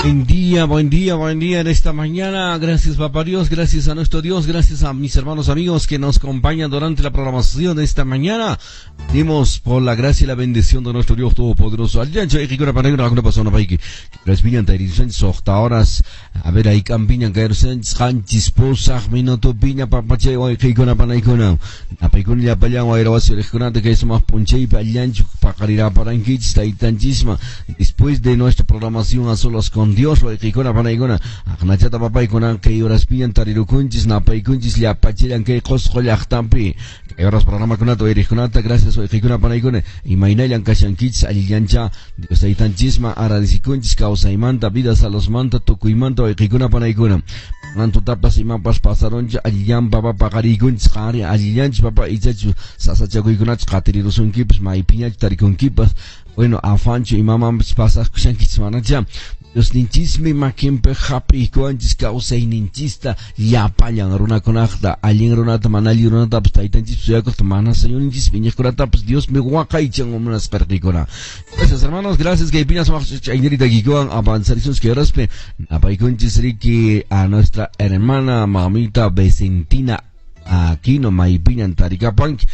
Buen día, buen día, buen día en esta mañana. Gracias, Papá Dios, gracias a nuestro Dios, gracias a mis hermanos amigos que nos acompañan durante la programación de esta mañana. Dimos por la gracia y la bendición de nuestro Dios Todopoderoso. Horas. A ver, ahí campiña, minuto piña, papache, panaykuna. Apaykuna llapallan wayrawasi riqkunata kay sumaq p'unchaypi allanchu paqariraparankich taytanchisma. Después de nuestra programación a solas con Dios, wayqikuna panaykuna. Aqnachata papaykuna kay horaspiñan tarirukunchis, napaykunchis llapachillan kay Qusqu llaqtanpi. Kay horas programakunata wayriqkunata, gracias wayqikuna panaykuna. Imaynallan kashankichis allillancha Dios taytanchisma agradecikunchis kawsaymanta, vida salosmanta, tukuymanta wayqikuna panaykuna. Tutapas imapas pasaroncha allillan papa paqariykunchis qari allillanchis papa ichachu sasachakuykunachu qatirirusunkipas maypiñachu tarikunkipas. Bueno, afanchu imamanpas pasaqkushankichis manacha. Diosninchismi makinpi hap'iykuwanchis kawsayninchista llapallan runakunaqta allin runata mana allin runatapas taytanchispi suyakuqta mana Señorninchispi iñiqkunatapas Diosmi waqaychan munasqarqikuna. Gracias, hermanos, gracias kaypiña sumaq chaynirita kikuwan avanzarisunchis kay horaspi napaykunchis riki a nuestra hermana mamita Vicentina Aquino maypiñan tarikapanki.